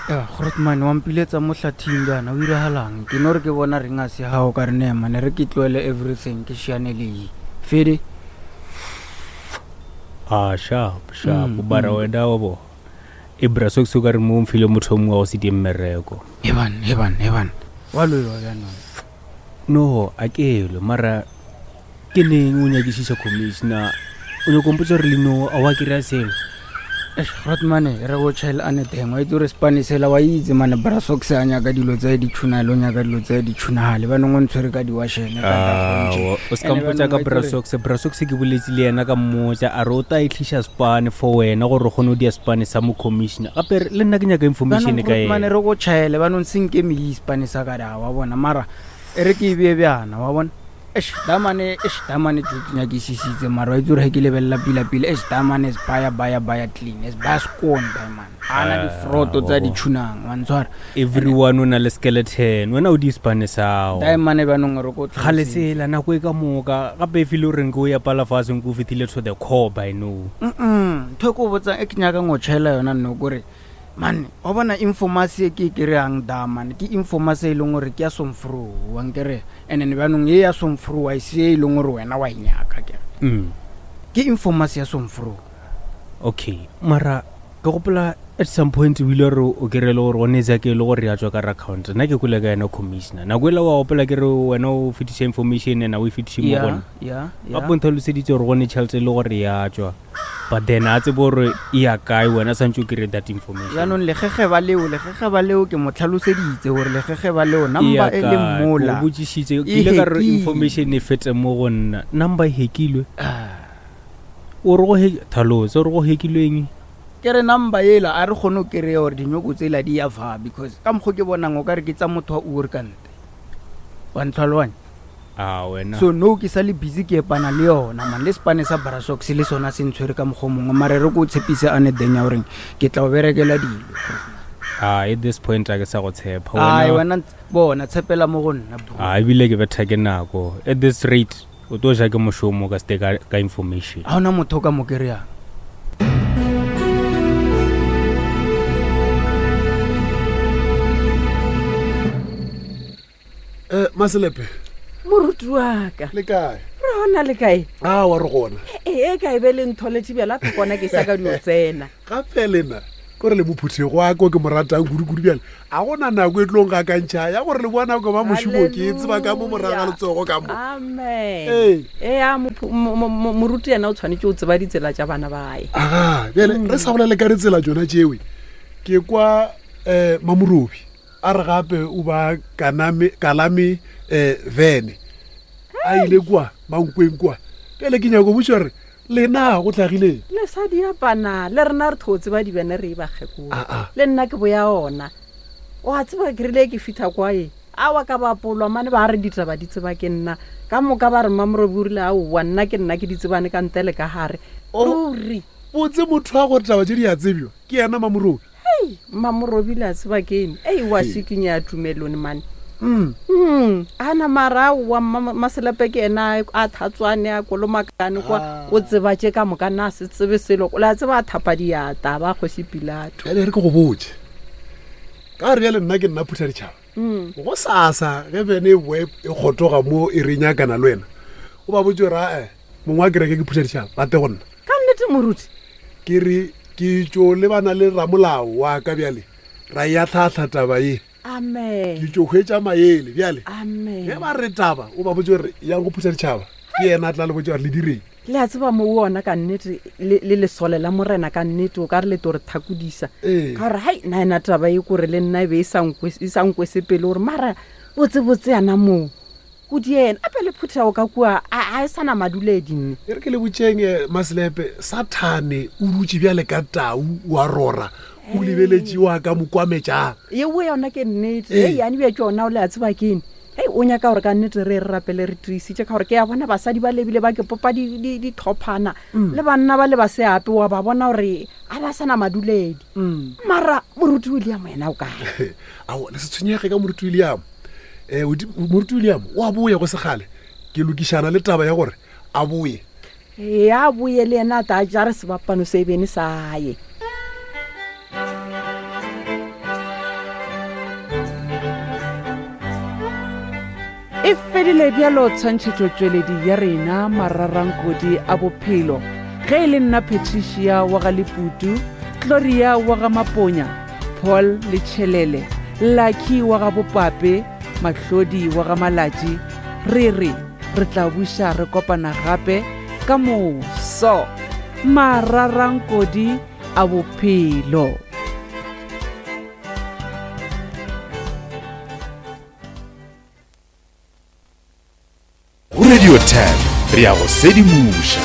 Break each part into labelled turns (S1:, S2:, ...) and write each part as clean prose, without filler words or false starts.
S1: Grootman wa mpiletsa mo hlathing bjana o iragalang ke no re ke bona reng a se gago ka re nema ne re ke tloele everything ke šiane le ye fede
S2: a sharp sharp mm, bara mm. wena wa bo e bra so se ka re mo mfile motho o mongwe wa go se die mmereko
S1: heban heban heban wa loiwa bjanong
S2: No, a ke elwe, mara ke neng o nyakišiša commissioner? O nyako mpotša gore le no a wa kry-a selo?
S1: Eish, Grootman, re go tšhael a neteng wa itse gore sepane sela wa itse mane brasox a nyaka dilo tsa ditšhunale o nyaka dilo tsa ditšhunagale ba nong o ntshwere ka diwashene ka
S2: Aowa, o se ka mpotša ka brasox brasox ke boletše le yena ka mmotša a re o tla e tliša sepane for wena gore o kgone go dia sepane sa mo commissioner gape le nna ke nyaka information ka
S1: mane
S2: yena
S1: re go tšhaele ba nong senke mei sepane sa ka da wa bona mara e re ke e bee bjana wa bona eish damane eish damane tso ke nyakisisitse mara wa itse gore ge ke lebelela pila-pila eish damane is baya baya baya clean is baya scone diamond ga na difroto tsa di tshunang wa ntshwara
S2: everyone o na le skeleton wena o di sepane sao
S1: diamane bjanong re ko
S2: kgale sela nako e ka moka gape e file o reng ke o ya pala fase nko o fetile to the core by no
S1: Mm-mm. ntho e ko botsang e ke nyakang go tšhaela yona nno kore Man, wa bona informasi e ke e kry-ang da man, ke informasi e leng gore ke ya somfro, wa nkere. And then bjanong ye ya somfro wa e se e leng gore wena wa e nyaka kere.
S2: Mm.
S1: Ke informasi ya somfro.
S2: Okay, mara ke gopola at some point o ile re o kry le gore gone ke e le gore ya tswa ka account nna ke kwele ka yena commissioner nako ela wa gopola ke re wena o fetiša information ena o e fetiše mo gona gape o ntlhaloseditse gore gone tšhelete e le gore ya tswa but then a tsebe gore e ya kae wena santse o kry that information
S1: jaanong legegeba leo legegeba leo ke mo tlhaloseditse gore legegeba leo number e le mola
S2: o botsisitse ke ile ka re information e fete mo go nna number e hekilwe ah. o re go he tlhalose o re go hekilweng
S1: ke re number ela a re kgone go kry-a gore dinyoko tsela di ya fa because ka mokgwa ke bonang o ka re ke tsa motho wa ure ka nte wa ntlhaloganya
S2: a wena
S1: so no ke sa le busy ke epana le yona man le sepane sa barasox le sona se ntshwere ka mokgwa mongwe mare re ko o tshepise a ne denya goreng ke tla o berekela dilo
S2: a at this point a ke sa go tshepa
S1: ai wena bona tshepela mo go nna bro
S2: a ebile ke betha ke nako at this rate o tlo ja ke mošomo ka sete ka information
S1: ga ona motho o ka mo kry-ang
S3: Eh, Maselepe.
S4: Moruti wa ka.
S3: Le kae?
S4: Re gona le kae?
S3: A wa re gona.
S4: Ee, e kae be le ntholetše bjala phe kona ke sa ka dio tsena.
S3: Gape lena kore le mophuthego wa ko ke mo ratang kudu-kudu bjale a gona nako e tlong gakantšha ya gore le boa nako ba mošomo ke tseba ka mo morago ga letsogo ka mo
S4: amen ee ea moruti yena o tshwanetse o tseba ditsela tša bana bae
S3: aga bjale re sa bolele ka ditsela tsona tšewe ke kwa um mamorobi a re gape o ba kaname kalame um vene a ile kua mankweng kua pele ke nyako botsa gore lena go tlhagileng
S4: le sa di apana le rena re thotse ba dibene re e ba kgekolo ah, ah. le nna ke boya ona o a tseba ke rile ke fitlha kwa e a wa ka bapolwa mane ba re ditaba di tseba ke nna ka moka ba re mmamorobi o rile aowa nna ke nna ke di tsebane ka ntle le ka gare
S3: oh.
S4: ruri
S3: botse motho wa gore taba tse di a tsebjo ke yena mamorobi
S4: hei mmamorobile a tseba keng ei wa šikinya ya tumelone mane
S3: Mm.
S4: Mm, a na mara wa maselepe ke ena a thatswane a kolomakane kwa ah. o tseba tše ka moka na se tsebe selo le a tseba a thapa diata ba kgoši pilato
S3: bjale re ke go botse ka gore bjale nna ke nna phutha ditšhaba mm. go sasa ge bene e boe e kgotoga mo e re nyakana le wena o ba botse gore ae mongwe wa kereke ke phutha ditšhaba ba te go nna
S4: ka nnete moruti
S3: Ke re ke tšo lebana le ramolao wa ka bjale, ra e ahlaahla taba ye.
S4: Amen.
S3: Ke tšo hwetša maele bjale.
S4: Amen.
S3: Ge ba re taba, o ba botše gore yang go phutha ditšhaba. Ke yena a tla le botša gore le direng.
S4: Le a tseba mo ona ka nnete le le lesole la morena ka nnete o ka re le to re thakodisa.
S3: Ee.
S4: Ka gore hai nna ena taba e kore le nna e be e sa nkwe e sa nkwese pele gore mara botse botse yana moo. Go diena ape le phuthego ka kua a a e sa na maduledi nne.
S3: E re ke le botšeng eh, Maselepe, Sathane o dutše bjale ka tau wa rora, o lebeletše wa ka mo kwametšang.
S4: Yeo yona ke nnete.
S3: Ee.
S4: Hei, yani bja tšona o le a tseba keng. Hei, o nyaka gore ka nnete re re rapele re tiisitše ka gore ke a bona basadi ba lebile ba ke popa di- di- dithophana le banna ba le ba seape wa ba bona gore a ba sa na maduledi. Mara moruti William yena o kae?
S3: Ao, le se tshwenyege ka moruti William. um moruti william o a boya go segale ke lokišana le taba ya gore a boye
S4: ee a boye le yena a ta jare sebapano se bene sa ye.
S5: E fedile bjalo tshwantšhetšotšweledi ya rena mararankodi a bophelo. Ge e le nna Patricia wa ga Leputu, Gloria wa ga Maponya, Paul le Tšhelele, Lucky wa ga Bopape, Mahlodi wa ga Malatši, re re re tla buša re kopana gape ka moso. Mararankodi a bophelo.
S6: Go Radio 10 re ya go sedimoša.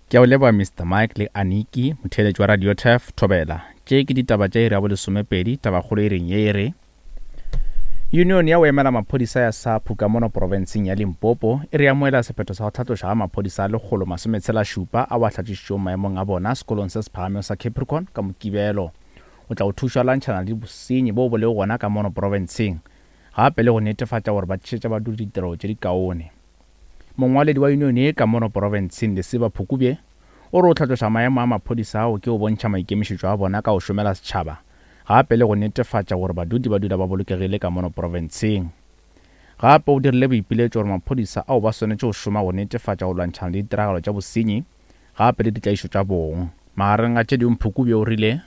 S7: Ke a o leboga Mr Mike le Aniki, motheeletši wa Radio Turf, Thobela. Tše ke ditaba tša iri ya bolesomepedi, tabakgolo e reng ye e re Union ya go emela maphodisa ya SAPU ka mono profenseng ya Limpopo e re amoela sephetho sa go hlatloša ga maphodisa a lekgolo masometshela-šupa ao a hlatlošitšwego maemong a bona sekolong se se phagamego sa Capricorn ka Mokibelo. O tla go thuša lwantšhana le bosenyi boo bo lego gona ka mono profenseng gape le go netefatša gore ba tlišetša badudi ditirelo tše dikaone. Mongwaledi wa yunione ye ka mono profenseng Lesiba Phukubye o re o hlatloša maemo a maphodisa ao ke go bontšha maikemišetšo a bona ka go šomela setšhaba gape le go netefatša gore badudi ba dula ba bolokegile ka mono profenseng. Gape o dirile boipiletšo gore maphodisa ao ba swanetše go šoma go netefatša go lwantšhana le ditiragalo tša bosenyi gape le ditlaišo tša bong. Magareng a tše dingwe Phukubye o rile.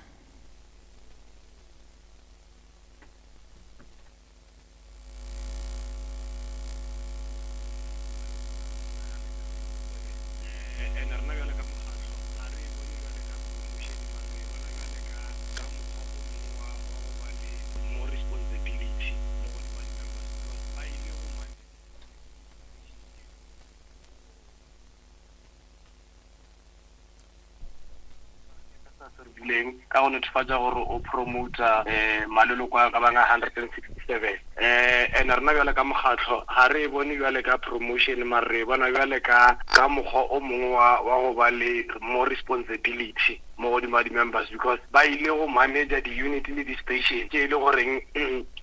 S8: Rileng ka go netefatša gore o promota um maleloko a ka bang a 167 um and rena bjale ka mokgatlo ga re e bone bjale ka promotion mare re e bona bjale ka ka mokgwa o mongwe wa wa go ba le more responsibility mo godimo ga di-members because ba ile go manager di-unit le di-station tše e le goreng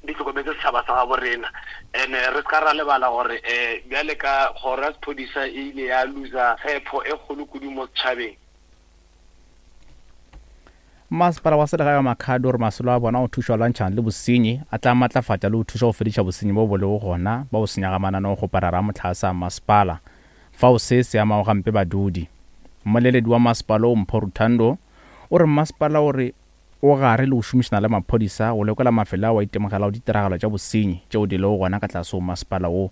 S8: di hlokometse setšhaba sa gabo rena and re se ka ra lebala gore um bjale ka kgoro ya sephodisa e ile ya loser tshepo e kgolo kudu mo setšhabeng.
S7: Masepala wa selegae wa Makhado o re masolo a bona go thuša go lwantšhana le bosenyi a tla matlafatša le go thuša go fediša bosenyi bo bo lego gona ba go senya ga mananeokgoparara a mohlagase a masepala fao se se amago gampe badudi. Mmoleledi wa masepala wo Mpho Ruthando o re masepala o re o gare le go šomišana le maphodisa go lekola mafelo ao a itemogelago ditiragalo tša bosenyi tšeo di lego gona ka tlase go masepala wo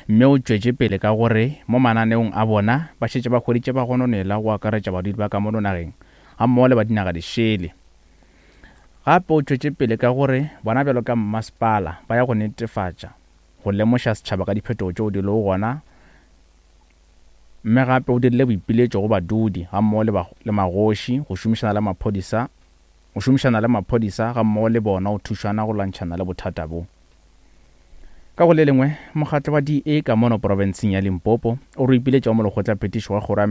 S7: mme o tšwetše pele ka go re mo mananeong a bona ba šetše ba hweditše bagononelwa go akaretša badudi ba ka mono nageng gammogo le ba dinaga dišele. Gape o tšwetše pele ka go re bona bjalo ka mmasepala ba ya go netefatša go lemoša setšhaba ka diphetogo tšeo di lego gona mme gape o dirile boipiletšo go badudi gammogo le le magoši go šomišana le maphodisa go šomišana le maphodisa gammogo le bona go thušana go lwantšhana le bothata bo. Ka go le lengwe, mokgatlo wa DA ka mono profenseng ya Limpopo o re o ipiletša go molekgotlaphethiši wa kgoro ya.